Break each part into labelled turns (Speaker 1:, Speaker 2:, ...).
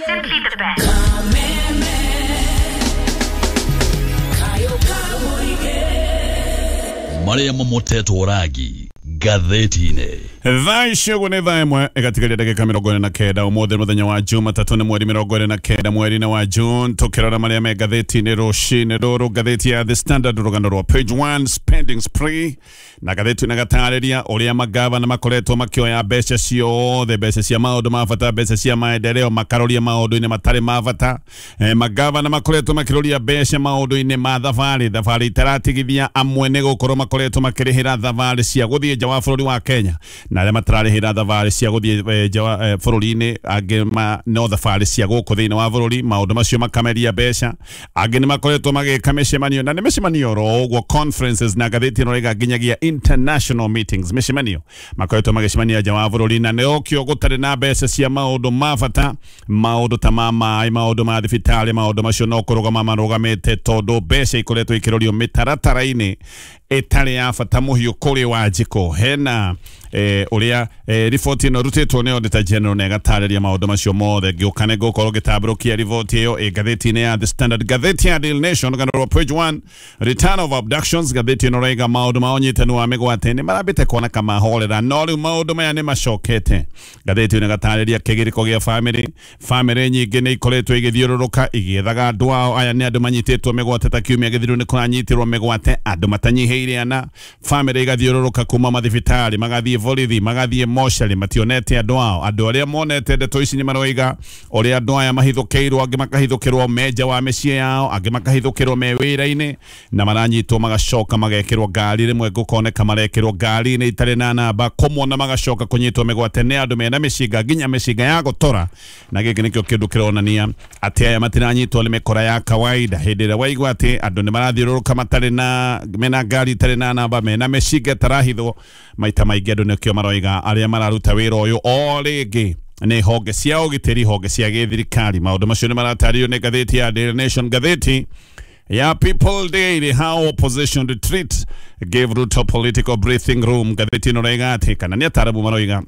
Speaker 1: Simply the best.
Speaker 2: Marĩa mamotetwo rangi ngathĩti-inĩ.
Speaker 3: Thaa ici ũguo nĩ thaa 1 ĩgatigaria ndagĩka 49 ũmũthĩ mũthenya wa Jumatatũ nĩ mweri 29 mweri-inĩ wa June, tũkĩrora marĩa me ngathĩti-inĩ rũcinĩ rũrũ. Ngathĩti ya The Standard rũgano rwa page 1 spending spree, na ngathĩti ĩno ĩgatarĩria ũrĩa magavana makoretwo makĩoya mbeca ciothe, mbeca cia maũndũ ma bata, mbeca cia maendeleo, makaroria maũndũ-inĩ matarĩ ma bata. Magavana makoretwo makĩroria mbeca maũndũ-inĩ ma thabarĩ, thabarĩ itaratigithia amwe nĩ gũkorwo makoretwo makĩrĩhĩra thabarĩ cia gũthiĩ nja wa bũrũri wa Kenya, na arĩa matararĩhĩra thabarĩ cia gũthiĩ nja wa bũrũri-inĩ, angĩ no thabarĩ cia gũkũ thĩinĩ wa bũrũri, maũndũ macio makameria mbeca. Angĩ nĩ makoretwo magĩka mĩcemanio, na nĩ mĩcemanio oro ũguo conferences, na ngathĩti ĩno ĩraiga nginyagia international meetings, mĩcemanio makoretwo magĩcemania nja wa bũrũri, na nĩokĩo gũtarĩ na mbeca cia maũndũ ma bata, maũndũ ta ma maĩ, maũndũ ma thibitarĩ, maũndũ macio no kũrũgama marũgamĩte tondũ mbeca ikoretwo ikĩrorio mĩtaratara-inĩ ĩtarĩ ya bata mũhiũ kũrĩ Wanjikũ. Hena ũrĩa riboti ĩno ĩrutĩtwo nĩ Auditor General na ĩgatarĩria maũndũ macio mothe. Ngĩũka nĩ ngũkorwo ngĩtambũrũkia riboti ĩyo ĩ ngathĩti-inĩ ya The Standard. Ngathĩti ya Daily Nation rũgano rwa page 1 return of abductions, ngathĩti ĩno ĩraiga maũndũ ma ũnyitanu wa mĩgwate nĩ marambĩte kuoneka mahorera, no rĩu maũndũ maya nĩ macokete. Ngathĩti ĩno ĩgatarĩria kĩgirĩko gĩa famĩlĩ, famĩlĩ nyingĩ nĩ ikoretwo igĩthiũrũrũka igĩethaga andũ ao. Aya nĩ andũ manyitĩtwo mĩgwate ta kiumia gĩthiru nĩ kũranyitirwo mĩgwate andũ matanyihĩire ana, famĩlĩ igathiũrũrũka kuma mathibitarĩ magathiĩ borithi magathiĩ mocarĩ, mationete andũ ao. Andũ arĩa monete ndeto ici nĩ maroiga ũrĩa andũ aya mahithũkĩirwo, angĩ makahithũkĩrwo me nja wa mĩciĩ yao, angĩ makahithũkĩrwo me wĩra-inĩ, na maranyitwo magacoka magekĩrwo ngari, rĩmwe gũkoneka marekĩrwo ngari-inĩ itarĩ na namba, kũmona magacoka kũnyitwo mĩgwate nĩ andũ mena mĩcinga, nginya mĩcinga ya gũtora. Na gĩkĩ nĩkĩo kĩndũ kĩronania atĩ aya matiranyitwo nĩ mĩkora ya kawaida. Hĩndĩ ĩrĩa waigua atĩ andũ nĩ marathiũrũrũka matarĩ na mena ngari itarĩ na namba, mena mĩcinga ĩtarahithwo, maita maingĩ andũ nĩkĩo maroiga arĩa mararuta wĩra ũyũ o rĩngĩ nĩ honge cia ũgitĩri, honge cia gĩthirikari. Maũndũ macio nĩ maratarĩrio nĩ ngathĩti ya Daily Nation. Ngathĩti ya People Daily, how opposition retreat gave Ruto political breathing room. Ngathĩti ĩno ĩroiga atĩ kana nĩ ataramu maroiga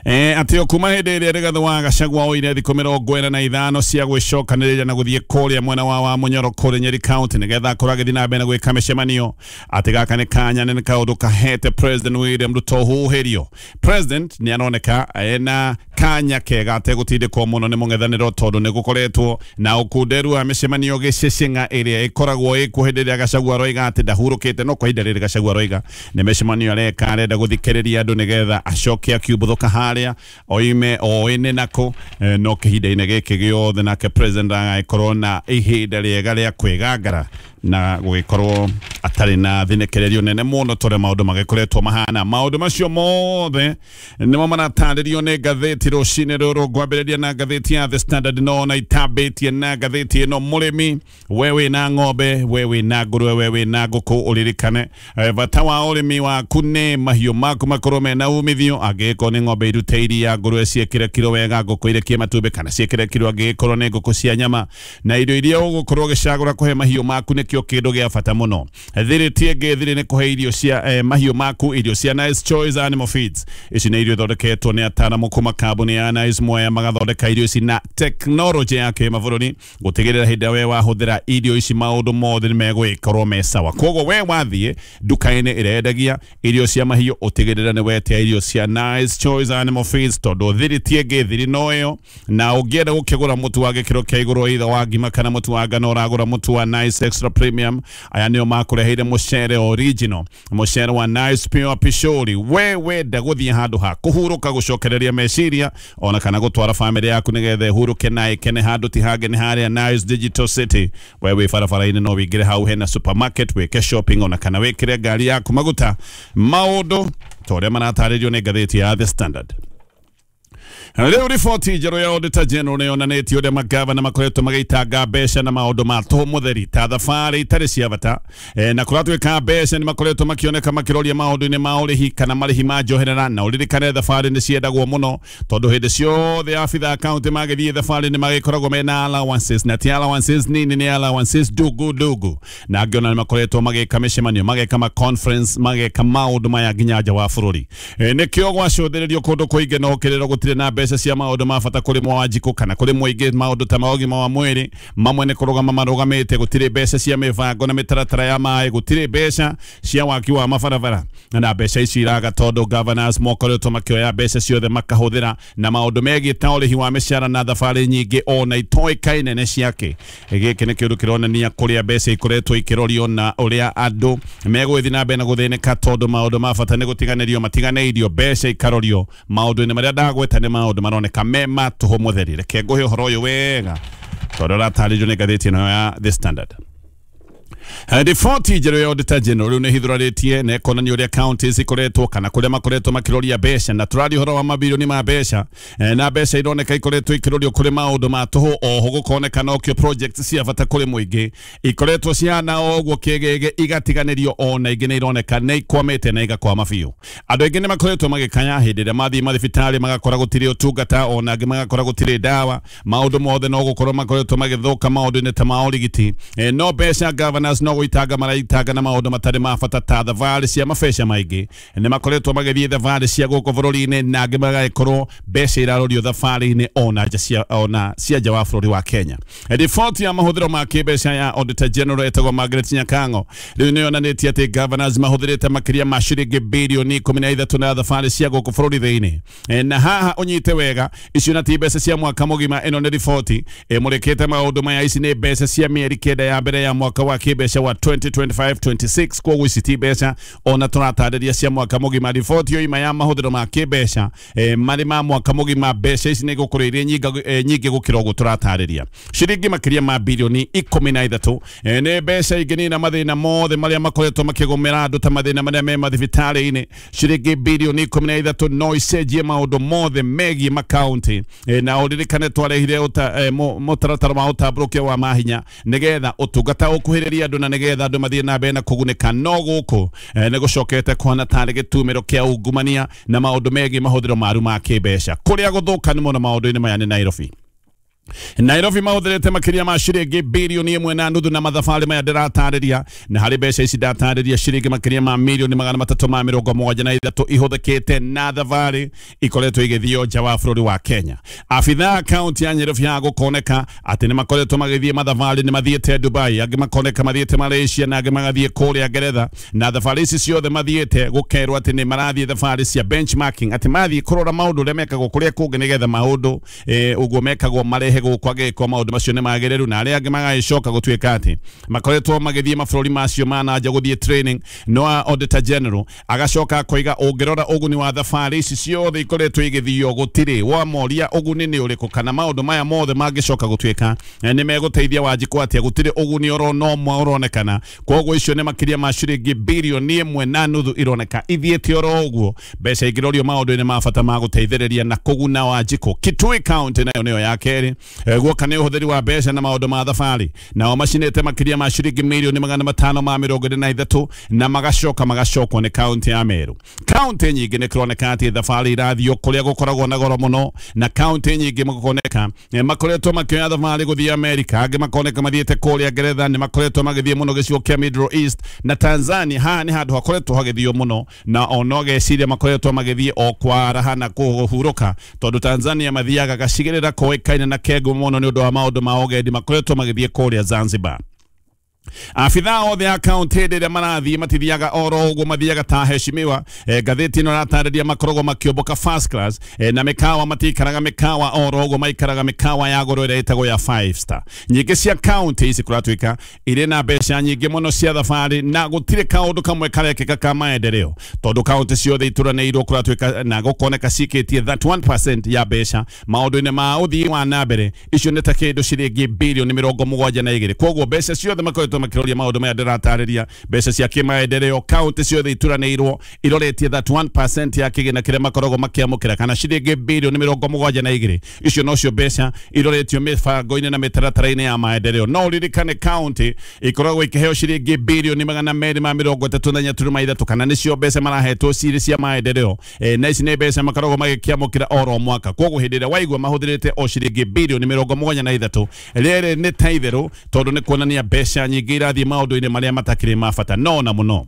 Speaker 3: atĩ o kuma hĩndĩ ĩrĩa Rigathĩ wa Gachagua oire thikũ 45 cia gwĩcokanĩrĩria na gũthiĩ kũrĩa mwena wa Wamunyoro kũrĩa Nyeri County nĩgetha akorwo agĩthiĩ na mbere na gwĩka mĩcemanio, atĩ gaka nĩ kanya nĩ kaũndũ kahete President William Ruto huhĩrio. President nĩ aroneka ena kanya kega ategũtindĩkwo mũno nĩ mũng'ethanĩro tondũ nĩ gũkoretwo na ũkunderu wa mĩcemanio gĩcĩcĩng'a ĩrĩa ĩkoragwo ĩkuo hĩndĩ ĩrĩa Gachagua aroiga atĩ ndahurũkĩte. No kwa ihinda rĩrĩ Gachagua aroiga nĩ mĩcemanio areka, arenda gũthikĩrĩria andũ nĩgetha acoke akiumbũthũka harĩa oime oĩ nako, no kĩhinda-inĩ gĩkĩ gĩothe nake president agagĩkorwo na ihinda rĩega rĩa kwĩgangara na gũgĩkorwo atarĩ na thinĩkĩrĩrio nene mũno tũrĩa maũndũ magĩkoretwo mahana. Maũndũ macio mothe nĩmo maratarĩrio nĩ ngathĩti rũcinĩ rũrũ. Ngwambĩrĩria na ngathĩti ya The Standard, no na itambĩtie na ngathĩti ĩno. Mũrĩmi, we wĩna ng'ombe, we wĩna ngũrwe, we wĩna ngũkũ, ũririkane bata wa ũrĩmi waku nĩ mahiũ maku makorwo mena umithio. Angĩgĩkorwo nĩ ng'ombe irute iria, ngũrwe ciĩkĩre kiro wega, ngũkũ irekie matumbĩ kana ciĩkĩre kiro angĩgĩkorwo nĩ ngũkũ cia nyama, na irio iria ũgũkorwo ũgĩcagũra kũhe mahiũ maku nĩkĩo kĩndũ gĩa bata mũno. Thiri ti ĩngĩ, thiri nĩ kũhe irio cia mahiũ maku, irio cia Nice Choice Animal Feeds. Ici nĩ irio ithondeketwo nĩ ataaramu kuma kambuni ya Nice Mwea, magathondeka irio ici na tekinoronjĩ ya kĩmabũrũri gũtigĩrĩra hĩndĩ ĩrĩa we wahũthĩra irio ici maũndũ mothe nĩ megũgĩkorwo me sawa. Koguo we wathiĩ nduka-inĩ ĩrĩa irio cia mahiũ, ũtigĩrĩre nĩ wetia irio cia Nice Choice Animal Feeds tondũ thiri ti ĩngĩ, thiri no ĩyo. Na ũngĩenda gũkĩgũra mũtu wa gĩkĩro kĩa igũrũ, either wa ngima kana mũtu wa ngano, ũragũra mũtu wa Nice Extra Premium. Aya nĩo makũreheire mũcere original, mũcere wa Nice Pure Pishori. We wenda gũthiĩ handũ ha kũhurũka, gũcokereria meciria, ona kana gũtwara famĩlĩ yaku nĩgetha ĩhurũke na ĩkene handũ ti hangĩ nĩ harĩa Nice Digital City. We wĩ barabara-inĩ no wĩingĩre hau hena supermarket wĩke shopping, ona kana wĩkĩre ngari yaku maguta. Maũndũ ta ũrĩa maratarĩrio nĩ ngathĩti ya The Standard. Rĩu riboti njerũ ya Auditor General nĩ yonanĩtie ũrĩa magavana makoretwo magĩitanga mbeca na maũndũ ma tũhũ mũtheri ta thabarĩ itarĩ cia bata, na kũratuĩka mbeca nĩ makoretwo makĩoneka makĩroria maũndũ-inĩ ma ũrĩhi kana marĩhi ma njoherera. Na ũririkane thabarĩ nĩ ciendagwo mũno tondũ hĩndĩ ciothe abitha kaunti magĩthiĩ thabarĩ nĩ magĩkoragwo mena allowances, na ti allowances nini, nĩ allowances ndugu ndugu. Na angĩ ona nĩ makoretwo magĩka mĩcemanio, mageka ma conference, mageka maũndũ maya nginya nja wa bũrũri. Nĩkĩo gwacũthĩrĩrio kũndũ kũingĩ no kĩrĩro gũtirĩ na mbeca cia maũndũ ma bata kũrĩ Wanjikũ kana kũrĩ mũingĩ, maũndũ ta ma ũgima wa mwĩrĩ mamwe nĩ kũrũgama marũgamĩte, gũtirĩ mbeca cia mĩbango na mĩtaratara ya maĩ, gũtirĩ mbeca cia waki wa mabarabara, na mbeca ici iraga tondũ governors mokoretwo makĩoya mbeca ciothe makahũthĩra na maũndũ megiĩ ta ũrĩhi wa mĩcara na thabarĩ nyingĩ ona itoĩkaine nĩ ciake. Gĩkĩ nĩ kĩũndũ kĩronania kũrĩa mbeca ikoretwo ikĩrorio na ũrĩa andũ megũgĩthiĩ na mbere na gũthĩnĩka tondũ maũndũ ma bata nĩ gũtiganĩrio matiganĩirio, mbeca ikarorio maũndũ-inĩ marĩa ndagweta nĩ maũndũ maroneka me ma tũhũ mũtheri. Reke ngũhe ũhoro ũyũ wega tondũ ũratarĩrio nĩ ngathĩti ĩno ya The Standard. Riboti njerũ ya Auditor General rĩu nĩ ĩhithũranĩtie na ĩkonania ũrĩa counties ikoretwo kana kũrĩa makoretwo makĩroria mbeca, na tũraria ũhoro wa mabirioni ma mbeca, na mbeca ironeka ikoretwo ikĩrorio kũrĩ maũndũ ma tũhũ, oho gũkoneka nokĩo projects cia bata kũrĩ mũingĩ ikoretwo cihana o ũguo kĩgĩgĩ igatiganĩrio, ona ingĩ nĩ ironeka nĩ ikwamĩte na igakwama biũ. Andũ aingĩ nĩ makoretwo magĩkaya hĩndĩ ĩrĩa mathiĩ mathibitarĩ magakora gũtirĩ ũtungata, ona angĩ magakora gũtirĩ ndawa, maũndũ mothe no gũkorwo makoretwo magĩthũka maũndũ-inĩ ta ma ũrigiti. No mbeca governors no gũitanga maraitanga na maũndũ matarĩ ma bata ta thabarĩ cia mabeca maingĩ, nĩ makoretwo magĩthiĩ thabarĩ cia gũkũ bũrũri-inĩ na angĩ magagĩkorwo mbeca irarorio thabarĩ-inĩ ona nja cia ona cia nja wa bũrũri wa Kenya. Riboti ya mahũthĩro ma kĩmbeca ya Auditor General ĩtagwo Margaret Nyakang'o rĩu nĩ yonanĩtie atĩ governors mahũthĩrĩte makĩria ma ciringi birioni 13 na thabarĩ cia gũkũ bũrũri thĩinĩ. Na haha ũnyite wega, icio na ti mbeca cia mwaka mũgima, ĩno nĩ riboti ĩmũrĩkĩte maũndũ maya, ici nĩ mbeca cia mĩeri 9 ya mbere ya mwaka wa kĩmbeca wa 2025-26, koguo ici ti mbeca ona tũratarĩria cia mwaka mũgima. Riboti yoima ya mahũthĩro ma kĩmbeca marĩ ma mwaka mũgima, mbeca ici nĩ igũkorwo irĩ nyingĩ gũkĩra ũguo tũratarĩria, ciringi makĩria ma birioni 13. Nĩ mbeca ingĩnina mathĩna mothe marĩa makoretwo makĩgũmĩra andũ ta mathĩna marĩa me mathibitarĩ-inĩ. Ciringi birioni 13 no icenjie maũndũ mothe megiĩ makaunti. Na ũririkane twarehire mũtaratara wa ũtambũrũkia wa mahinya nĩgetha ũtungata ũkuhĩrĩrie andũ na nĩgetha andũ mathiĩ na mbere na kũgunĩka, no gũkũ nĩ gũcokete kũhana tarĩ gĩtumĩro kĩa ungumania na maũndũ megiĩ mahũthĩro maru ma kĩmbeca. Kũrĩa gũthũka nĩ mũno maũndũ-inĩ maya nĩ Nairobi. Nairobi mahũthĩrĩte makĩria ma ciringi birioni 1.5 na mathabarĩ maya ndĩratarĩria, na harĩ mbeca ici ndatarĩria ciringi makĩria ma mirioni 373 ihũthĩkĩte na thabarĩ ikoretwo igĩthio nja wa bũrũri wa Kenya. Abithaa kaunti ya Nairobi ya gũkoneka atĩ nĩ makoretwo magĩthiĩ mathabarĩ, nĩ mathiĩte Dubai, angĩ makoneka mathiĩte Malaysia na angĩ magathiĩ kũrĩa Ngeretha, na thabarĩ ici ciothe mathiĩte gũkerwo atĩ nĩ marathiĩ thabarĩ cia benchmarking, atĩ mathiĩ kũrora maũndũ ũrĩa mekagwo kũrĩa kũngĩ nĩgetha maũndũ ũguo mekagwo marehe gũkũ agĩkwo maũndũ macio nĩ magĩrĩru, na arĩa angĩ magagĩcoka gũtuĩka atĩ makoretwo magĩthiĩ mabũrũri macio ma na nja gũthiĩ training. No Auditor General agacoka akoiga ũngĩrora ũguni wa thabarĩ ici ciothe ikoretwo igĩthio gũtirĩ wamoria ũguni nĩ ũrĩkũ, kana maũndũ maya mothe mangĩcoka gũtuĩka nĩ megũteithia Wanjikũ atĩa, gũtirĩ ũguni oro no ũmwe ũronekana. Koguo icio nĩ makĩria ma ciringi birioni 1.5 ironeka ithiĩte oro ũguo, mbeca ingĩrorio maũndũ-inĩ ma bata ma gũteithĩrĩria na kũguna Wanjikũ. Kitui County nayo nĩyo ya kerĩ guoka nĩ ũhũthĩri wa mbeca na maũndũ ma thabarĩ, nao macinĩte makĩria ma ciringi mirioni 543 na magacoka magacokwo nĩ kaunti ya Meru. Kaunti nyingĩ nĩ kũroneka atĩ thabarĩ irathio kũrĩa gũkoragwo na goro mũno, na kaunti nyingĩ gũkoneka makoretwo makĩoya thabarĩ gũthiĩ Amerika, angĩ makoneka mathiĩte kũrĩa Ngeretha, nĩ makoretwo magĩthiĩ mũno gĩcigo kĩa Middle East na Tanzania. Haha nĩ handũ hakoretwo hagĩthio mũno, na ona ũgeciria makoretwo magĩthiĩ o kwaraha na kũhurũka, tondũ Tanzania mathiaga gacigĩrĩra koĩkaine na kengo mũno nĩ ũndũ wa maũndũ ma ũgendi, makoretwo magĩthiĩ kũrĩa Zanzibar. Abithaa othe a kaunti hĩndĩ ĩrĩa marathiĩ matithiaga oro ũguo, mathiaga ta heshimiwa. Ngathĩti ĩno ĩratarĩria makoragwo makĩũmbũka first class, na mĩkawa matikaraga mĩkawa oro ũguo, maikaraga mĩkawa ya goro ĩrĩa ĩtagwo ya 5 star. Nyingĩ cia kaunti ici kũratuĩka irĩ na mbeca nyingĩ mũno cia thabarĩ, na gũtirĩ kaũndũ kamwe karekĩka ka maendeleo, tondũ kaunti ciothe ituranĩirwo kũratuĩka na gũkoneka cikĩtie 31% ya mbeca maũndũ-inĩ ma ũthii wa na mbere. Icio nĩ ta kĩndũ ciringi birioni 72. Koguo mbeca ciothe makoretwo makĩroria maũndũ maya ndĩratarĩria, mbeca cia kĩmaendeleo kaunti ciothe ituranĩirwo iroretie 31% ya kĩgĩna kĩrĩa makoragwo makĩamũkĩra, kana ciringi birioni 72. Icio nocio mbeca iroretio mĩbango-inĩ na mĩtaratara-inĩ ya maendeleo. No ũririkane kaunti ikoragwo ikĩheo ciringi birioni 234.3, kana nĩcio mbeca marahetwo cirĩ cia maendeleo, na ici nĩ mbeca makoragwo magĩkĩamũkĩra oro mwaka. Koguo hĩndĩ ĩrĩa waigua mahũthĩrĩte o ciringi birioni 73, rĩrĩ nĩ ta itherũ, tondũ nĩ kuonania mbeca nyingĩ irathiĩ maũndũ-inĩ marĩa matakĩrĩ ma bata no na mũno.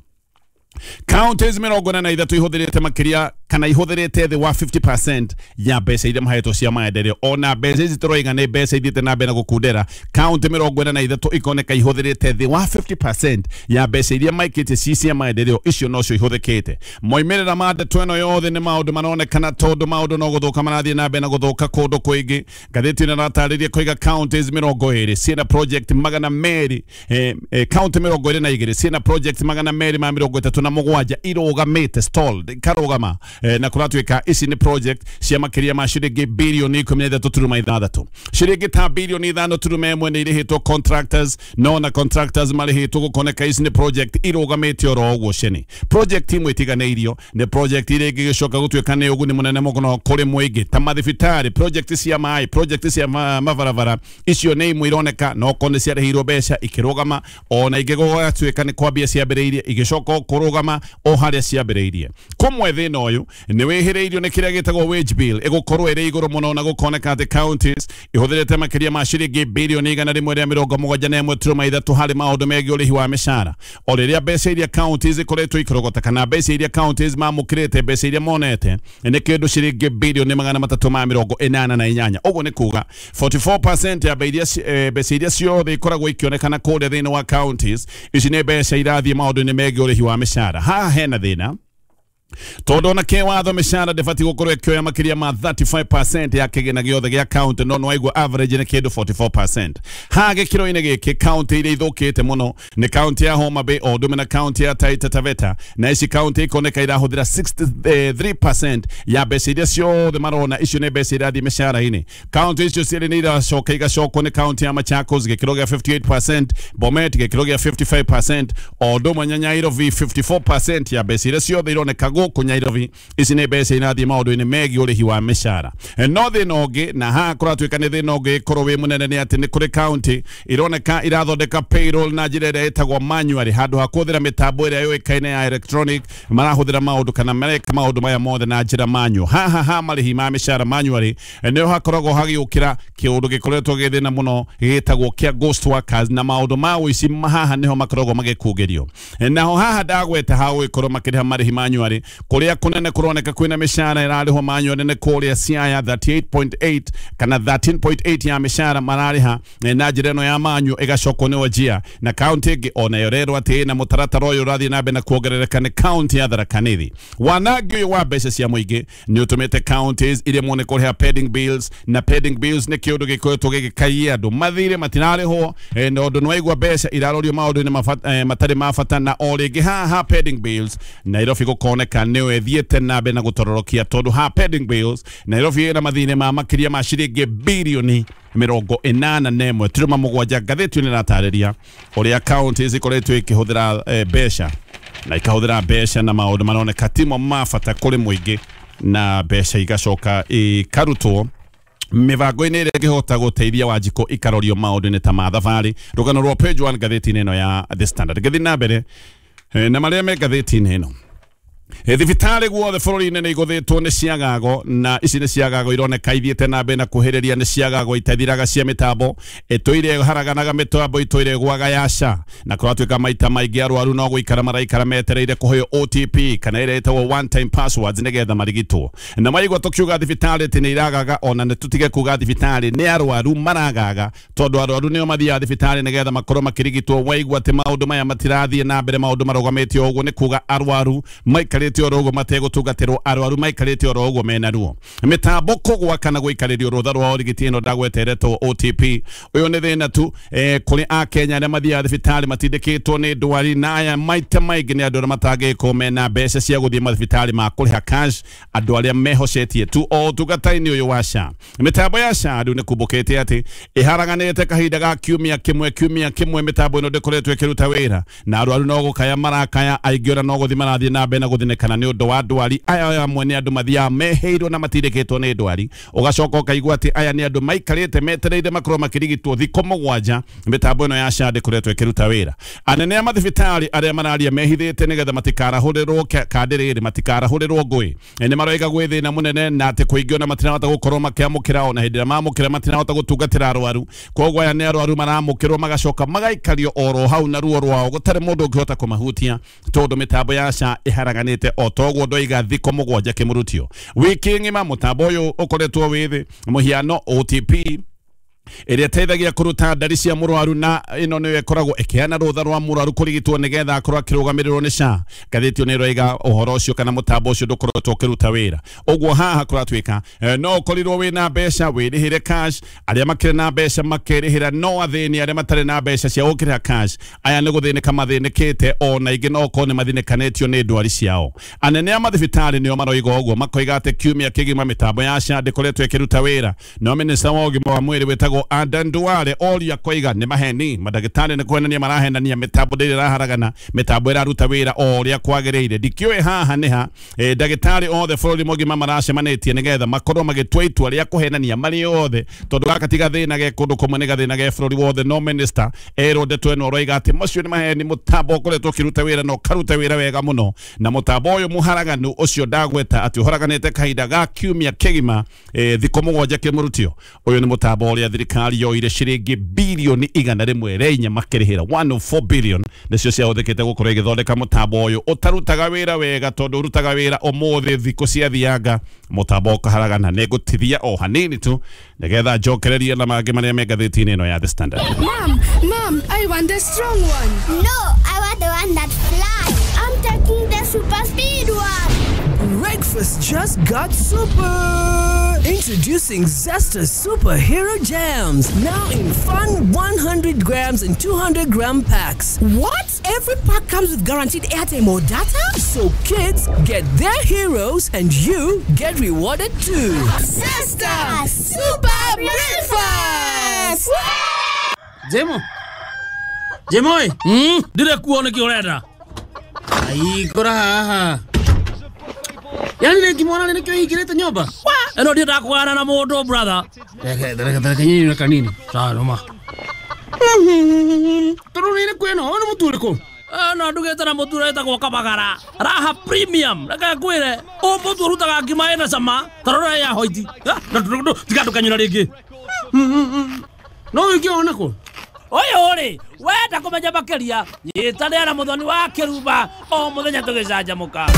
Speaker 3: Counties 43 ihũthĩrĩte makĩria kana ihũthĩrĩte thĩ wa 50% ya mbeca iria mahetwo cia maendeleo. Ona mbeca ici tũroiga nĩ mbeca ithiĩte na mbere na gũkundera, kaunti 43 ikoneka ihũthĩrĩte thĩ wa 50% ya mbeca iria maikĩtie ci cia maendeleo, icio nocio ihũthĩkĩte. Moimĩrĩra ma ndeto ĩno yothe nĩ maũndũ maronekana tondũ maũndũ no gũthũka marathiĩ na mbere na gũthũka kũndũ kũingĩ. Ngathĩti ĩno ĩratarĩria kũiga counties 20 ciĩna project 200, county 22 ciĩna project 237 irũgamĩte, stalled, ikarũgama, na kũratuĩka ici nĩ project cia makĩria ma ciringi bilioni 13.6, ciringi ta bilioni 5.1 nĩ irĩhĩtwo contractors, no na contractors marĩhĩtwo gũkoneka ici nĩ project irũgamĩte oro ũguo cene. Project imwe itiganĩirio nĩ project iria ingĩgĩcoka gũtuĩka nĩ ũguni mũnene mũno kũrĩ mũingĩ ta mathibitarĩ, project cia maĩ, project cia mabarabara, icio nĩ imwe ironeka no korwo nĩ ciarĩhĩirwo mbeca ikĩrũgama, ona ingĩ gũgatuĩka nĩ kwambia ciambĩrĩirie igĩcoka kũrũgama o harĩa ciambĩrĩirie. Kũmwe thĩna ũyũ nĩ wĩhĩrĩirio nĩ kĩrĩa gĩtagwo wage bill ĩgũkorwo ĩrĩ igũrũ mũno, na gũkoneka atĩ counties ihũthĩrĩte makĩria ma ciringi bilioni 171.3 harĩ maũndũ megiĩ ũrĩhi wa mĩcara. O rĩrĩa mbeca iria counties ikoretwo ikĩrogota kana mbeca iria counties mamũkĩrĩte, mbeca iria monete nĩ kĩndũ ciringi bilioni 388. Ũguo nĩ kuga 44% ya mbeca iria ciothe ikoragwo ikĩonekana kũrĩa thĩinĩ wa counties, ici nĩ mbeca irathiĩ maũndũ-inĩ megiĩ ũrĩhi wa mĩcara. Haha hena thĩna tondũ ona kĩwatho mĩcara ndĩbatiĩ gũkorwo ĩkĩoya makĩria ma 35% ya kĩgĩna gĩothe gĩa county, no nĩwaigua average nĩ kĩndũ 44%. Haha gĩkĩro-inĩ gĩkĩ county iria ithũkĩte mũno nĩ county ya Homa Bay o ũndũ ũmwe na county ya Taita Taveta, na ici county ikoneka irahũthĩra 63% ya mbeca iria ciothe marona, icio nĩ mbeca irathiĩ mĩcara-inĩ. County icio cierĩ nĩ iracoka igacokwo nĩ county ya Machakos gĩkĩro gĩa 58%, Bomet gĩkĩro gĩa 55%, o ũndũ ũmwe na Nairobi 54% ya mbeca iria ciothe ironeka gũkũ Nairobi, ici nĩ mbeca irathiĩ maũndũ-inĩ megiĩ ũrĩhi wa mĩcara. No thĩna ũngĩ, na haha kũratuĩka nĩ thĩna ũngĩ korwo wĩ mũnene, nĩ atĩ nĩ kũrĩ county ironeka irathondeka payroll na njĩra ĩrĩa ĩtagwo manually, handũ ha kũhũthĩra mĩtambo ĩrĩa yũĩkaine ya electronic, marahũthĩra maũndũ kana mareka maũndũ maya mothe na njĩra manual. Haha ha marĩhi ma mĩcara manually nĩho hakoragwo hagĩũkĩra kĩũndũ gĩkoretwo gĩ thĩna mũno gĩtagwo kĩa ghost workers, na maũndũ ma ũici haha nĩho makoragwo magĩkungĩrio. Naho haha ndagweta ha gũgĩkorwo makĩrĩha marĩhi manually, kũrĩa kũnene kũroneka kwĩna mĩcara ĩrarĩhwo manually nĩ kũrĩa Siaya 38.8 kana 13.8 ya mĩcara mararĩha na njĩra ĩno ya manual, ĩgacokwo nĩ Wajir. Na county ĩngĩ onayo ĩrerwo atĩ ĩna mũtaratara ũyũ ũrathiĩ na mbere na kuongerereka nĩ county ya Tharaka Nithi. Wanangi ũyũ wa mbeca cia mũingĩ nĩ ũtũmĩte counties iremwo nĩ kũrĩha pending bills, na pending bills nĩ kĩũndũ gĩkoretwo gĩgĩkaia andũ mathirĩ matirarĩhwo, na ũndũ nĩwaigua mbeca irarorio maũndũ-inĩ matarĩ ma bata. Na o rĩngĩ haha pending bills Nairobi gũkoneka nĩyo ĩthiĩte na mbere na gũtororokia, tondũ ha pending bills Nairobi ĩna mathirĩ ma makĩria ma ciringi bilioni 81.7. Ngathĩti ĩno ĩratarĩria ũrĩa counties ikoretwo ikĩhũthĩra mbeca na ikahũthĩra mbeca na maũndũ maroneka timo ma bata kũrĩ mũingĩ, na mbeca igacoka ikarutwo mĩbango-inĩ ĩrĩa ĩngĩhota gũteithia Wanjikũ ikarorio maũndũ-inĩ ta ma thabarĩ. Rũgano rwa page 1 ngathĩti-inĩ ĩno ya The Standard. Ngĩthiĩ na mbere na marĩa me ngathĩti-inĩ ĩno, thibitarĩ guothe bũrũri-inĩ nĩ igũthĩtwo nĩ ciagago, na ici nĩ ciagago ironeka ithiĩte na mbere na kuhĩrĩria, nĩ ciagago itathiraga cia mĩtambo ĩtũire haraganaga mĩtambo ĩtũire gwaga ya SHA, na kũratuĩka maita maingĩ arwaru no gũikara maraikara metereire kũheo OTP kana ĩrĩa ĩtagwo one time passwords nĩgetha marigitwo. Na maigua tũkiuga thibitarĩ atĩ nĩ iragaga, ona nĩ tũtige kuga thibitarĩ nĩ arwaru maragaga, tondũ arwaru nĩo mathiaga thibitarĩ nĩgetha makorwo makĩrigitwo. Waigua atĩ maũndũ maya matirathiĩ na mbere, maũndũ marũgamĩte ũguo, nĩ kuga arwaru maikarĩte oro ũguo mategũtungatĩrwo, arwaru maikarĩte oro ũguo mena ruo. Mĩtambo kũgwa kana gũikarĩrio rũtha rwa ũrigiti ĩno ndagweteretwo OTP, ũyũ nĩ thĩna tu kũrĩ akenya arĩa mathiaga thibitarĩ matindĩkĩtwo nĩ ndwari, na aya maita maingĩ nĩ andũ arĩa matangĩkorwo mena mbeca cia gũthiĩ mathibitarĩ ma kũrĩha cash, andũ arĩa mehocetie tu o ũtungata-inĩ ũyũ wa SHA. Mĩtambo ya SHA rĩu nĩ kumbũkĩte atĩ ĩharaganĩte kahinda ga kiumia kĩmwe kiumia kĩmwe, mĩtambo ĩno ndĩkoretwo ĩkĩruta wĩra, na arwaru no gũkaya marakaya, aingĩ ona no gũthiĩ marathiĩ na mbere na gũthĩnĩka nĩ ũndũ wa ndwari. Aya amwe nĩ andũ mathiaga mehĩirwo na matindĩkĩtwo nĩ ndwari, ũgacoka ũkaigua atĩ aya nĩ andũ maikarĩte metereire makorwo makĩrigitwo thikũ 7, mĩtambo ĩno ya SHA ndĩkoretwo ĩkĩruta wĩra. Anene a mathibitarĩ arĩa mararia mehithĩte nĩgetha matikarahũrĩrwo kandi rĩrĩ, matikarahũrĩrwo ngũĩ, nĩ maroiga gwĩ thĩna mũnene, na atĩ kũingĩ ona matirahota gũkorwo makĩamũkĩra, ona hĩndĩ ĩrĩa mamũkĩra matirahota gũtungatĩra arwaru. Koguo aya nĩ arwaru maramũkĩrwo magacoka magaikario oro hau na ruo rwao, gũtarĩ mũndũ ũngĩhota kũmahutia, tondũ mĩtambo ya SHA ĩharaganĩte. ũharaganĩte o toguo ndoiga thikũ mũgwanja kĩmũrutio wiki ng'ima mũtambo ũyũ ũkoretwo wĩ thĩ mũhiano OTP ĩrĩa ĩteithagia kũruta ndari cia mũrwaru na ĩno nĩyo ĩkoragwo ĩkĩheana rũtha rwa mũrwaru kũrigitwo nĩgetha akorwo akĩrũgamĩrĩrwo nĩ SHA. Ngathĩti ĩyo nĩ ĩroiga ũhoro ũcio kana mũtambo ũcio ndũkoretwo ũkĩruta wĩra. Ũguo haha kũratuĩka no ũkorirwo wĩna mbeca wĩrĩhĩre cash, arĩa makĩrĩ na mbeca makerĩhĩra, no athĩni arĩa matarĩ na mbeca cia gũkĩrĩha cash aya nĩ gũthĩnĩka mathĩnĩkĩte, ona ingĩ no ũkorwo nĩ mathĩnĩkanĩtio nĩ ndwari ciao. Anene a mathibitarĩ nĩo maroiga ũguo, makoiga atĩ kiumia kĩgima mĩtambo ya SHA ndĩkoretwo ĩkĩruta wĩra. No minista wa ũgima wa mwĩrĩ wĩtagwo Adan Duale oria koiga nĩ maheni, mandagĩtarĩ nĩ kwenania marahenania, mĩtambo ndĩrĩ ĩraharagana, mĩtambo ĩraruta wĩra o ũrĩa kwagĩrĩire. Ndikĩũĩ haha nĩ ha ndagĩtarĩ othe bũrũri mũgima maracemanĩtie nĩgetha makorwo magĩtua itua rĩa kũhenania marĩ othe, tondũ gaka ti gathĩna ge kũndũ kũmwe, nĩ gathĩna ge bũrũri wothe. No minista erwo ndeto ĩno aroiga atĩ macio nĩ maheni, mũtambo ũkoretwo ũkĩruta wĩra na ũkaruta wĩra wega mũno, na mũtambo ũyũ mũharaganu ũcio ndagweta atĩ ũharaganĩte kahinda ga kiumia kĩgima thikũ mũgwanja kĩmũrutio. Ũyũ nĩ mũtambo ũrĩa thirikari yoire ciringi bilioni 104 makĩrĩhĩra 104 billion nĩcio ciahũthĩkĩte gũkorwo ĩgĩthondeka mũtambo ũyũ ũtarutaga wĩra wega, tondũ ũrutaga wĩra ũmũthĩ thikũ ciathianga mũtambo ũkaharagana. Nĩngũtithia o hanini tu nĩgetha njokererie na mangĩ marĩa me ngathĩti-inĩ ĩno ya The Standard.
Speaker 1: Mom, Mom, I want the strong one.
Speaker 4: No, I want the one that flies. I'm taking the super speed one.
Speaker 5: Breakfast just got super. Introducing Zesta Superhero Jams, now in fun 100 grams and 200 gram packs.
Speaker 6: What? Every pack comes with guaranteed airtime or data?
Speaker 5: So kids get their heroes and you get rewarded too.
Speaker 6: Zesta Super Breakfast!
Speaker 7: Jemo! Jemo! Ndire kuo nĩkĩ ũrenda? Ai, kora haha. Yani nĩngĩmwona nĩkĩo hingĩrĩte nyũmba? Ĩno ndiendaga kũgana na mũndũ brother. Reke nyinyi na kanini. Sawa noma. Tondũ nĩ ĩrĩkũ ĩno? Ũyũ nĩ mũtu ũrĩkũ? No ndugĩte na mũtu ũrĩa wĩtagwo Kabagara. Raha Premium. Reke ngwĩre, ũyũ mũtu ũrutaga ngima ĩna cama, ta rora ya hoiti. Tiga ndũkanyũra rĩngĩ. No ũngĩona kũ? Ũyũ rĩ, wenda kũmenya makĩria, nyitanĩra na Mũthoni wa Kĩrumba o mũthenya tũgĩcanjamũka.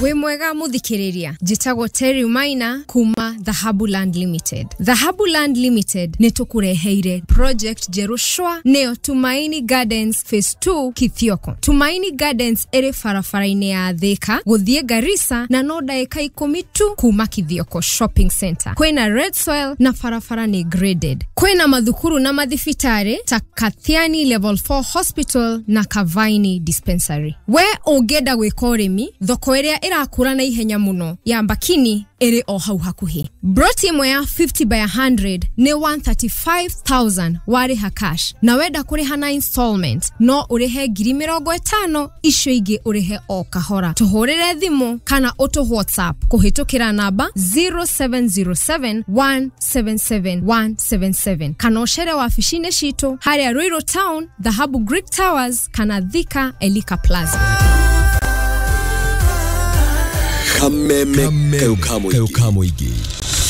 Speaker 8: Wĩ mwega mũthikĩrĩria, njĩtagwo Terry Maina kuma Dhahabu Land Limited. Dhahabu Land Limited nĩ tũkũreheire project njerũ shwa, nĩyo Tumaini Gardens Phase 2 Kithioko. Tumaini Gardens ĩrĩ barabara-inĩ ya Thika gũthiĩ Garissa na no ndagĩka 10 tu kuma Kithioko Shopping Center. Kwĩna red soil na barabara nĩ graded. Kwĩna mathukuru na mathibitarĩ ta Kathiani Level 4 Hospital na Kavaini Dispensary. We ũngĩenda gwĩka ũrĩmi, thoko ĩrĩa ĩrakũra na ihenya mũno ya Mbakini ĩrĩ o hau hakuhĩ. Broti ĩmwe ya 50 by 100 nĩ 135,000 warĩha cash, na wenda kũrĩha na installment no ũrĩhe 50,000, icio ingĩ ũrĩhe o kahora. Tũhũrĩre thimũ kana ũtũ WhatsApp kũhĩtũkĩra namba 0707 177 177 kana ũcere wabici-inĩ citũ harĩa Ruiru Town, Dhahabu Greek Towers kana Thika Elika Plaza.
Speaker 9: Kameme kayo kamoigi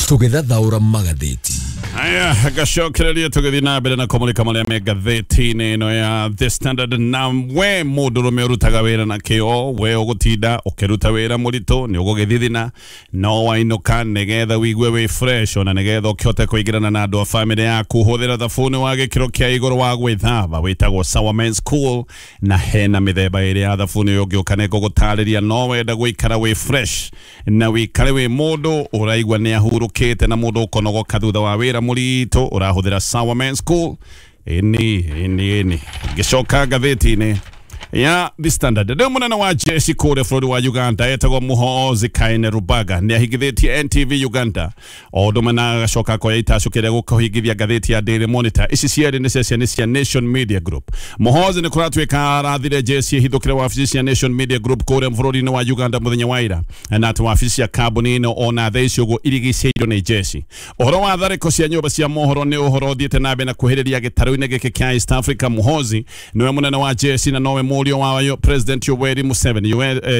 Speaker 9: tũgĩthathaũra magathĩti.
Speaker 3: Aya, gacokereria tũgĩthiĩ na mbere na kũmũrĩka marĩa me ngathĩti-inĩ ĩno ya The Standard. Na we mũndũrũme ũrutaga wĩra na kĩo, we ũgũtinda ũkĩruta wĩra mũritũ nĩ ũgũgĩthithina, no wainũka nĩgetha wĩigue wĩ fresh, ona nĩgetha ũkĩhote kũingĩrana na andũ a bamĩrĩ yaku, hũthĩra thabuni wa gĩkĩro kĩa igũrũ wa gwĩthamba wĩtagwo Sawa Men's Cool, na hena mĩthemba ĩrĩ ya thabuni ũyũ ũngĩũka nĩ ngũgũtarĩria. No wenda gũikara wĩ fresh na wĩikare wĩ mũndũ ũraigua nĩ ahurũkĩte na mũndũ ũkonogoka thutha wa wĩra mũritũ, ũrahũthĩra Sawa Men's Cool. Ĩni ĩni ĩni. Ngĩcoka ngathĩti-inĩ ya The Standard, rĩu mũnene wa jeshi kũrĩa bũrũri wa Uganda etagwo Muhoozi Kainerugaba nĩ ahingithĩtie NTV Uganda o ũndũ ũmwe na agacoka akoya itacũkĩ rĩa gũkũhingithia ngathĩti ya Daily Monitor. Ici cierĩ nĩ ceceni cia Nation Media Group. Muhoozi nĩ kũratuĩka arathire jeshi ĩhithũkĩre wabici cia Nation Media Group kũrĩa bũrũri-inĩ wa Uganda mũthenya wa ira, na atĩ wabici cia kambuni ĩno ona thaa ici ũguo irigicĩirio nĩ jeshi. Ũhoro wa tharĩko cia nyũmba cia mohoro nĩ ũhoro ũthiĩte na mbere na kuhĩrĩria gĩtarũ-inĩ gĩkĩ kĩa East Africa. Muhoozi nĩwe mũnene wa jeshi na nowe mũriũ wa President Yoweri Museveni.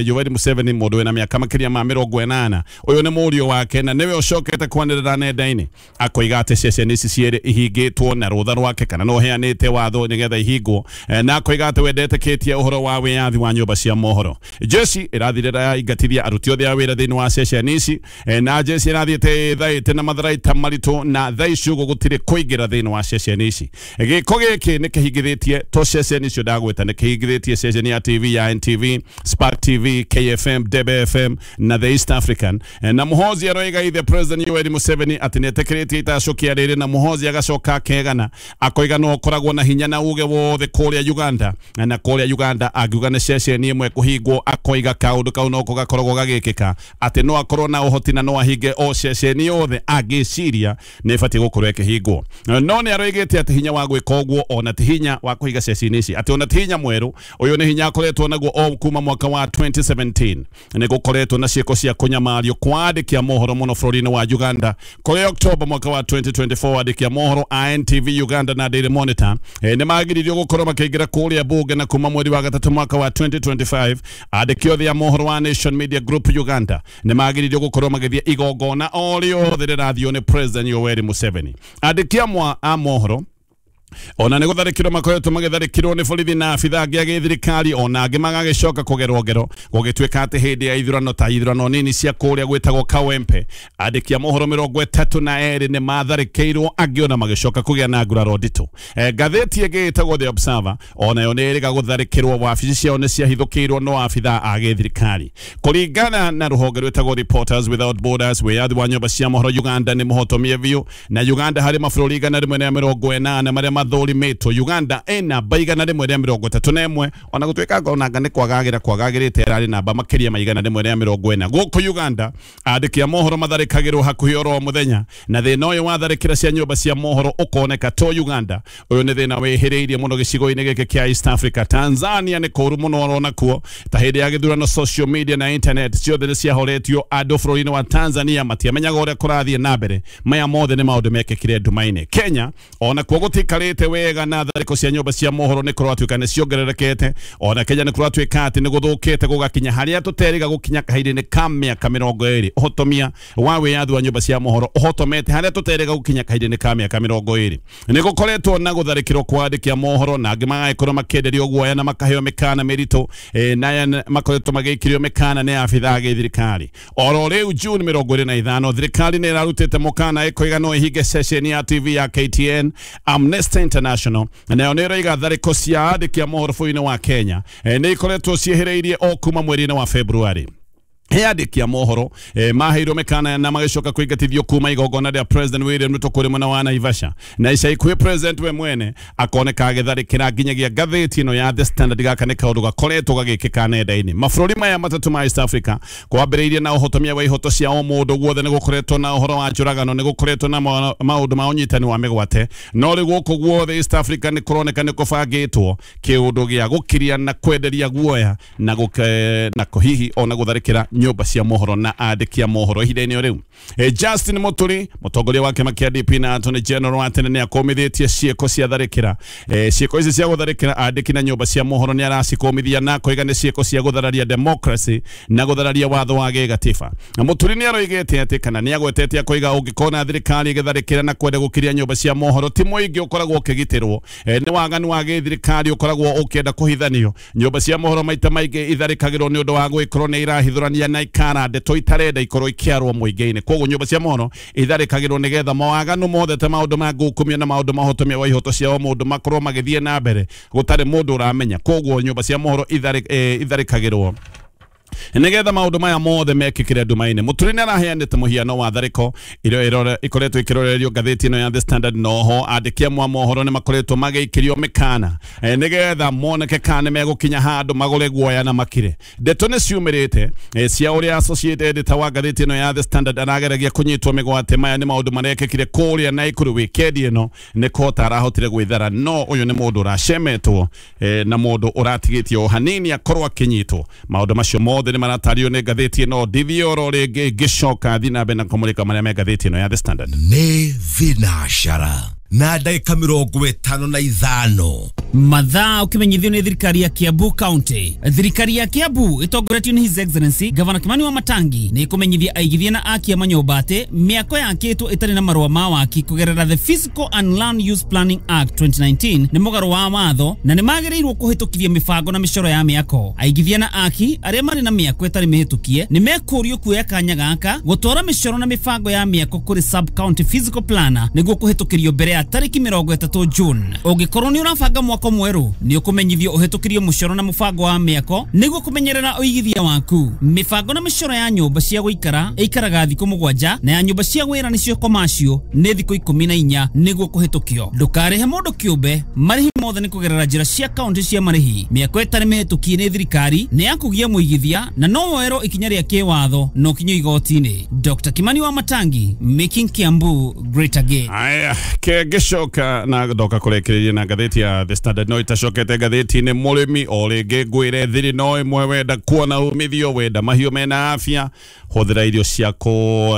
Speaker 3: Yoweri Museveni mũndũ wĩna mĩaka makĩria ma 80, ũyũ nĩ mũriũ wake na nĩwe ũcokete kwanĩrĩra nenda-inĩ akoiga atĩ ceceni ici cierĩ ihingĩtwo na rũtha rwake kana no heanĩte watho nĩgetha ihingwo, na akoiga atĩ wendetĩkĩtie ũhoro wa wĩyathi wa nyũmba cia mohoro. Jeshi ĩrathire yaingatithia aruti othe a wĩra thĩinĩ wa ceceni ici, na jeshi ĩrathiĩte ĩthaĩte na matharaita maritũ na thaa ici ũguo gũtirĩ kũingĩra thĩinĩ wa ceceni ici. Gĩko gĩkĩ nĩ kĩhingithĩtie to ceceni icio ndagwĩta, nĩ kĩhingithĩtie ceceni ya TV ya NTV, Spark TV, KFM, Debe FM na The East African. Na Muhoozi aroiga ithe President Yoweri Museveni atĩ nĩetĩkĩrĩtie itacũkia rĩrĩ, na Muhoozi agacoka akegana akoiga no ũkoragwo na hinya na uge wothe kũrĩa Uganda, na kũrĩa Uganda angiuga nĩ ceceni ĩmwe kũhingwo akoiga kaũndũ kau noko gakoragwo gagĩkĩka, atĩ no akorwo na ũhoti na no ahinge o ceceni yothe angĩciria nĩ ĩbatiĩ gũkorwo ĩkĩhingwo. No nĩ aroigĩte atĩ hinya wa gwĩka ũguo ona ti hinya wa kũhinga ceceni ici, atĩ ona ti hinya mwerũ, ũyũ nĩ hinya akoretwo naguo o kuma mwaka wa 2017. Nĩ gũkoretwo na ciĩko cia kũnyamario kwa andĩki a mohoro mũno bũrũri-inĩ wa Uganda. Kũrĩ October mwaka wa 2024 andĩki a mohoro a NTV Uganda na Daily Monitor nĩ magiririo gũkorwo makĩingĩra kũrĩa bunge, na kuma mweri wa gatatũ mwaka wa 2025 andĩki othe a mohoro wa Nation Media Group Uganda nĩ magiririo gũkorwo magĩthiĩ igongona o rĩothe rĩrathio nĩ President Yoweri Museveni. Andĩki amwe a mohoro ona nĩ gũtharĩkĩrwo makoretwo magĩtharĩkĩrwo nĩ borithi na abitha angĩ a gĩthirikari, ona angĩ magagĩcoka kũgerwo ngero gũgĩtuĩka atĩ hĩndĩ ya ithurano ta ithurano nini cia kũrĩa gwĩtagwo Kawempe andĩki a mohoro 32 nĩ matharĩkĩirwo, angĩ ona magĩcoka kũgĩa na nguraro nditũ. Ngathĩti ĩngĩ ĩtagwo The Observer onayo nĩ ĩrĩga gũtharĩkĩrwo, wabici ciao nĩ ciahithũkĩirwo no abitha a gĩthirikari. Kũringana na rũhonge rwĩtagwo Reporters Without Borders, wĩyathi wa nyũmba cia mohoro Uganda nĩ mũhotomie biũ, na Uganda harĩ mabũrũri 180 marĩa mathũrimĩtwo, Uganda ĩ namba 131, ona gũtuĩka onanga nĩ kwagagĩra kwagagĩrĩte ĩrarĩ namba makĩria ma 140. Gũkũ Uganda andĩki a mohoro matharĩkagĩrwo hakuhĩ oro mũthenya, na thĩna ũyũ wa tharĩkĩra cia nyũmba cia mohoro ũkoneka to Uganda. Ũyũ nĩ thĩna wĩhĩrĩirie mũno gĩcigo-inĩ gĩkĩ kĩa East Africa. Tanzania nĩ kũũru mũno orona kuo, ta hĩndĩ ya gĩthurano social media na internet ciothe nĩ ciahoretio, andũ bũrũri-inĩ wa Tanzania matiamenyaga ũrĩa kũrathiĩ na mbere. Maya mothe nĩ maũndũ mekĩkire nduma-inĩ. Kenya ona kuo gũtikarĩte wega na tharĩko cia nyũmba cia mohoro nĩ kũratuĩka nĩ ciongererekete. Ona Kenya nĩ kũratuĩka atĩ nĩ gũthũkĩte gũgakinya harĩa tũterĩga gũkinya kahinda-inĩ ka mĩaka 20. Ũhotomia wa wĩyathi wa nyũmba cia mohoro ũhotomete harĩa tũterĩga gũkinya kahinda-inĩ ka mĩaka 20. Nĩ gũkoretwo na gũtharĩkĩrwo kwa andĩki a mohoro, na angĩ magagĩkorwo makĩenderio guoya na makaheo mĩkana mĩritũ, na aya makoretwo magĩikĩrio mĩkana nĩ abitha a gĩthirikari. Oro rĩu June 25 thirikari nĩ ĩrarutĩte mũkana ĩkoiga no ĩhinge ceceni ya TV ya KTN. Amnesty International nayo nĩ ĩroiga tharĩko cia andĩki a mohoro bũrũri-inĩ wa Kenya nĩ ikoretwo ciĩhĩrĩirie o kuma mweri-inĩ wa February. Andĩki a mohoro maheirwo mĩkana na magĩcoka kũingatithio kuma igongona rĩa President William Ruto kũrĩ mwena wa Naivasha, na ica ikuhĩ President we mwene akoneka agĩtharĩkĩra nginyagia ngathĩti ĩno ya The Standard. Gaka nĩ kaũndũ gakoretwo gagĩkĩka nenda-inĩ. Mabũrũri maya matatũ ma East Africa kwambĩrĩirie na ũhotomia wa ihoto cia o mũndũ guothe, nĩ gũkoretwo na ũhoro wa njũragano, nĩ gũkoretwo na maũndũ ma ũnyitani wa mĩgwate, no rĩu gũkũ guothe East Africa nĩ kũroneka nĩ kũbangĩtwo kĩũndũ gĩa gũkiria na kwenderia guoya na hihi ona gũtharĩkĩra nyũmba cia mohoro na andĩki a mohoro ihinda-inĩ o rĩu. Justin Muturi mũtongoria wa kĩama kĩa DP na Attorney General wa tene nĩ akũmithĩtie ciĩko cia tharĩkĩra. Ciĩko ici cia gũtharĩkĩra andĩki na nyũmba cia mohoro nĩ aracikũmithia na koiga nĩ ciĩko cia gũthararia democracy na gũthararia watho wa gĩgatiba. Na Muturi nĩ aroigĩte atĩ kana nĩ agwetete akoiga ũngĩkona thirikari ĩgĩtharĩkĩra na kwenda gũkiria nyũmba cia mohoro ti mũingĩ ũkoragwo ũkĩgitĩrwo, nĩ waganu wa gĩthirikari ũkoragwo ũkĩenda kũhithanio. Nyũmba cia mohoro maita maingĩ itharĩkagĩrwo nĩ ũndũ wa gwĩkorwo nĩ irahithũrania na ikara ndeto itarenda ikorwo ikĩarwo mũingĩ-inĩ. Koguo nyũmba cia mohoro itharĩkagĩrwo nĩgetha mawaganu mothe ta maũndũ ma ngukumio na maũndũ mahotomia wa ihoto cia o mũndũ makorwo magĩthiĩ na mbere gũtarĩ mũndũ ũramenya. Koguo nyũmba cia mohoro itharĩkagĩrwo nigetha maundu maya mothe mekikire nduma-inĩ. Muturi nĩ araheanĩte mũhiano wa tharĩko iria ikoretwo ikĩrorerio ngathĩti ĩno ya The Standard. Noho andĩki amwe a mohoro nĩ makoretwo magĩikĩrio mĩkana nĩgetha moneke kana nĩmegũkinya handũ magũre guoya na makire. Ndeto nĩ ciumĩrĩte cia ũrĩa associate editor wa ngathĩti ĩno ya The Standard arageragia kũnyitwo mĩgwate. Maya nĩ maũndũ marekĩkire kũrĩa Naikuru wikendi ĩno, nĩ kũhota arahotire gwĩthara, no ũyũ nĩ mũndũ ũracemetwo na mũndũ ũratigĩtio o hanini akorwo akĩnyitwo. Maũndũ macio mothe nĩ maratario nĩ ngathĩti ĩno. Ndithiĩ oro rĩngĩ ngĩcoka thiĩ na mbere na kũmũrĩka marĩa me ngathĩti ĩno ya The Standard.
Speaker 9: Nĩ thinacara na ndagĩka 55.
Speaker 10: Mathaa ũkĩmenyithio nĩ thirikari ya Kiambu County. Thirikari ya Kiambu ĩtongoretio nĩ His Excellency Gavana Kimani wa Matangi nĩ ĩkũmenyithia aigithia na aki a manyũmba atĩ mĩako yakĩtwo ĩtarĩ na marũa ma waki kũgerera the Physical and Land Use Planning Act 2019 nĩ mũgarũ wa watho na nĩ magĩrĩirwo kũhĩtũkithia mĩbango na mĩcoro ya mĩako. Aigithia na aki arĩa marĩ na mĩako ĩtarĩ mĩhĩtũkie nĩ mekũrio kuoya kanya gaka gũtwara mĩcoro na mĩbango ya mĩako kũrĩ sub county physical planner nĩguo kũhĩtũkĩrio mbere ya tarĩki 30 June. Ũngĩkorwo nĩ ũrabanga mwako mwerũ nĩ ũkũmenyithio ũhĩtũkĩrio mũcoro na mũbango wa mĩako nĩguo kũmenyerera ũigithia waku. Mĩbango na mĩcoro ya nyũmba cia gũikara ĩikaraga thikũ 7 na ya nyũmba cia wĩra nĩcio commercial nĩ thikũ 14 nĩguo kũhĩtũkio. Ndũkarĩhe mũndũ kĩũmbe, marĩhi mothe nĩ kũgerera njĩra cia kaunti cia marĩhi. Mĩako ĩtarĩ mĩhĩtũkie nĩ thirikari nĩ ya kũgia mũigithia na no woerwo ikinya rĩa kĩwatho na ũkinyio igoti-inĩ. Dr. Kimani wa Matangi, making Kiambu great again.
Speaker 3: Aya, kĩngĩcoka na ndoka kũrĩkĩrĩria na ngathĩti ya The Standard no itacokete ngathĩti-inĩ mũrĩmi o rĩngĩ ngwĩre thiri no ĩmwe wenda kuona umithio wenda mahiũ mena afya hũthĩra irio ciaku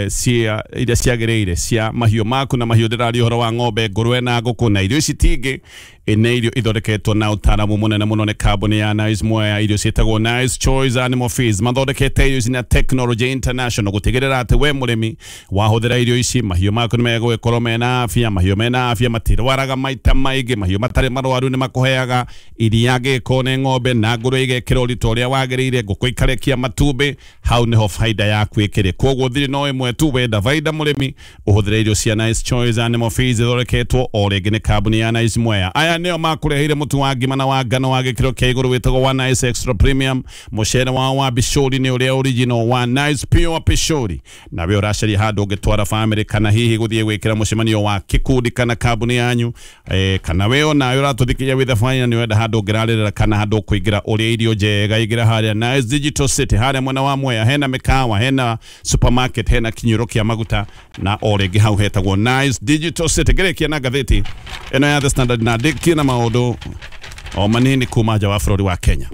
Speaker 3: cia iria ciagĩrĩire cia mahiũ maku na mahiũ ndĩraria ũhoro wa ng'ombe ngũrwe na ngũkũ na irio ici tingĩ nĩ irio ithondeketwo na ũtaaramu mũnene mũno nĩ kambuni ya Nice Mwea. Irio ciĩtagwo Nice Choice Animal Feeds, mathondekete irio ici na Technology International gũtigĩrĩra atĩ we mũrĩmi wahũthĩra irio ici mahiũ maku nĩ megũgĩkorwo mena afya. Mahiũ mena afya matirwaraga maita maingĩ, mahiũ matarĩ marwaru nĩ makũheaga iria gĩko nĩ ng'ombe na ngũrwe igekĩra ũritũ ũrĩa wagĩrĩire, ngũkũ ikarekia matumbĩ, hau nĩho faida yaku ĩkĩrĩ. Koguo thiri no ĩmwe tu, wenda faida mũrĩmi ũhũthĩre irio cia Nice Choice Animal Feeds ithondeketwo o rĩngĩ nĩ kambuni ya Nice Mwea. Aya nĩo makũreheire mũtu wa ngima na wa ngano wa gĩkĩro kĩa igũrũ wĩtagwo wa Nice Extra Premium. Mũcere wao wa bishori nĩ ũrĩa original wa Nice Pure Pishori, nawe ũracaria handũ ũngĩtwara family kana hihi gũthiĩ gwĩkĩra mũcemanio wa kĩkundi kana kambuni yanyu, kana we onawe ũratũthikĩria wĩ thabarĩ na nĩ ũrenda handũ ũngĩrarĩrĩra kana handũ ũkũingĩra ũrĩe irio njega, ingĩra harĩa Nice Digital City harĩa mwena wa Mwea, hena mĩkawa, hena supermarket, hena kinyũro kĩa maguta na o rĩngĩ hau hetagwo Nice Digital City. Ngĩrĩkia na ngathĩti ĩno ya The Standard na ndĩkie na maũndũ o manini kuma nja wa bũrũri wa Kenya.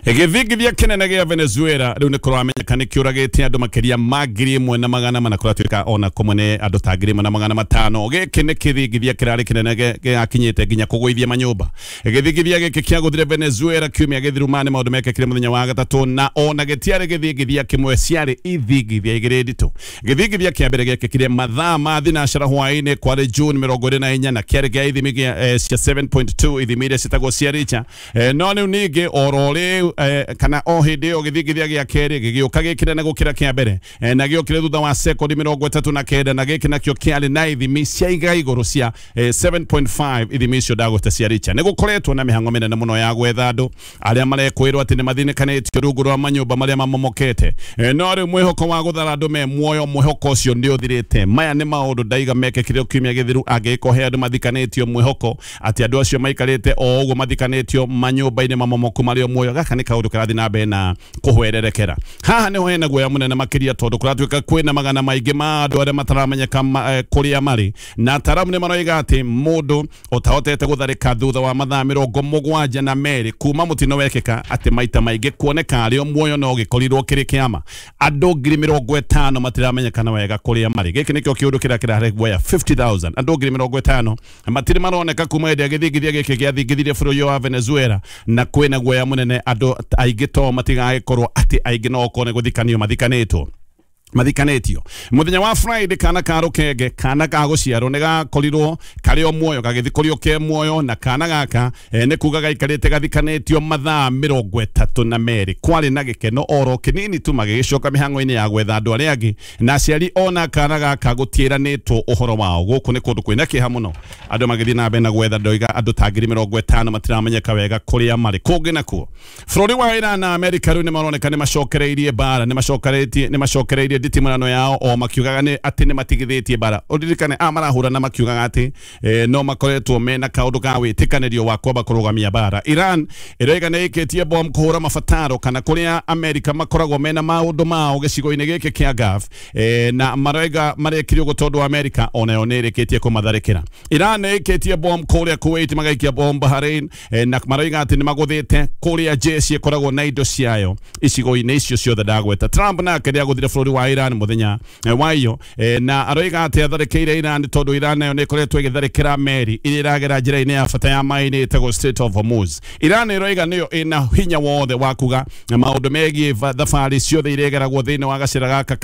Speaker 3: Gĩthingithia kĩnene gĩa Venezuela rĩu nĩ kũramenyeka nĩ kĩũragĩte andũ makĩria ma 1400 kũratuĩka ona kũmwe nĩ andũ ta 1500. Gĩkĩ nĩ kĩthingithia kĩrarĩ kĩnene gĩakinyĩte nginya kũgũithia manyũmba. Gĩthingithia gĩkĩ kĩagũthire Venezuela kiumia gĩthiru ma nĩ maũndũ mekĩkire mũthenya wa gatatũ, na ona gĩtiarĩ gĩthingithia kĩmwe, ciarĩ ithingithia igĩrĩ nditũ. Gĩthingithia kĩa mbere gĩekĩkire mathaa ma thinacara hwaĩ-inĩ kwarĩ June 24 na kĩarĩ kĩa ithimi cia 7.2 ithimi iria ciĩtagwo cia Richter. No rĩu ningĩ oro rĩu kana o hĩndĩ ĩyo gĩthingithia gĩa kerĩ gĩgĩũka gĩkĩnene gũkĩra kĩa mbere, na gĩokire thutha wa sekondi 39 na gĩkĩ nakĩo kĩarĩ na ithimi cia iga igũrũ cia 7.5 ithimi icio ndagweta cia Richter. Nĩ gũkoretwo na mĩhang'o mĩnene mũno ya gwetha andũ arĩa marekwĩrwo atĩ nĩ mathinĩkanĩtio rungu rwa manyũmba marĩa mamomokete, no rĩu mwĩhoko wa gũthara andũ me muoyo, mwĩhoko ũcio nĩ ũthirĩte. Maya nĩ maũndũ ndaiga mekĩkire kiumia gĩthiru, angĩgĩkorwo he andũ mathikanĩtio mwĩhoko atĩ andũ acio maikarĩte o ũguo mathikanĩtio manyũmba-inĩ mamomoku marĩ o muoyo. Gaka nĩ kaũndũ kĩrathiĩ na mbere na kũhwererekera. Haha nĩho hena guoya mũnene makĩria tondũ kũratuĩka kwĩna magana maingĩ ma andũ arĩa mataramenyeka kũrĩa marĩ, na ataaramu nĩ maroiga atĩ mũndũ ũtahotete gũtharĩka thutha wa mathaa 72 kuma mũtino wekĩka atĩ maita maingĩ kuoneka arĩ o muoyo no gĩkorirwo kĩrĩ kĩama. Andũ 50,000 matiramenyekana wega kũrĩa marĩ. Gĩkĩ nĩkĩo kĩũndũ kĩrĩa kĩrarehe guoya. 50,000 andũ 50,000 matirĩ maroneka kuma hĩndĩ ĩrĩa gĩthingithia gĩkĩ gĩathingithirie bũrũri wa Venezuela, na kwĩna guoya mũnene andũ aingĩ to matigagĩkorwo atĩ aingĩ no okorwo nĩ gũthikanio mathikanĩtwo mathikanĩtio. Mũthenya wa Friday kana ka rũkenge kana ka gũciarwo nĩ gakorirwo karĩ o muoyo, gagĩthikũrio ke muoyo, na kana gaka nĩ kuga gaikarĩte gathikanĩtio mathaa 32. Kwarĩ na gĩkeno oro kĩnini tu magĩgĩcoka mĩhang'o-inĩ ya gwetha andũ arĩa angĩ, na aciari ona kana gaka gũtiĩranĩtwo ũhoro wao. Gũkũ nĩ kũndũ kwĩna kĩeha mũno, andũ magĩthiĩ na mbere na gwetha. Ndoiga andũ ta 50,000 matiramenyeka wega kũrĩa marĩ. Kũngĩ nakuo bũrũri wa Iran na Amerika rĩu nĩ maroneka nĩ macokereirie mbara, nĩ macokereirie nditimũrano yao o makiugaga nĩ atĩ nĩ matigithĩtie mbara. Ũririkane a marahũrana makiugaga atĩ no makoretwo mena kaũndũ ka wĩtĩkanĩrio wa kwamba kũrũgamia mbara. Iran ĩroiga nĩ ĩkĩtie bomu kũhũra mabataro kana kũrĩa Amerika makoragwo mena maũndũ mao gĩcigo-inĩ gĩkĩ kĩa Gulf, na maroiga marekire ũguo tondũ Amerika onayo nĩ ĩrĩkĩtie kũmatharĩkĩra. Iran nĩ ĩkĩtie bomu kũrĩa Kuwait, magaikia bomu Bahrain, na maroiga atĩ nĩ magũthĩte kũrĩa jeshi ĩkoragwo na indo ciayo icigo-inĩ icio ciothe ndagweta. Trump nake nĩ agũthire bũrũri wa Iran muthenya wa iyo na aroiga atĩ atharĩkĩire Iran tondũ Iran nayo nĩ ĩkoretwo ĩgĩtharĩkĩra meri iria ĩragera njĩra-inĩ ya bata ya maĩ-inĩ ĩtagwo Strait of Hormuz. Iran ĩroiga nĩyo ĩna hinya wothe wa kuga maũndũ megiĩ thabarĩ ciothe iria igeragwo thĩinĩ wa gacĩra gaka ka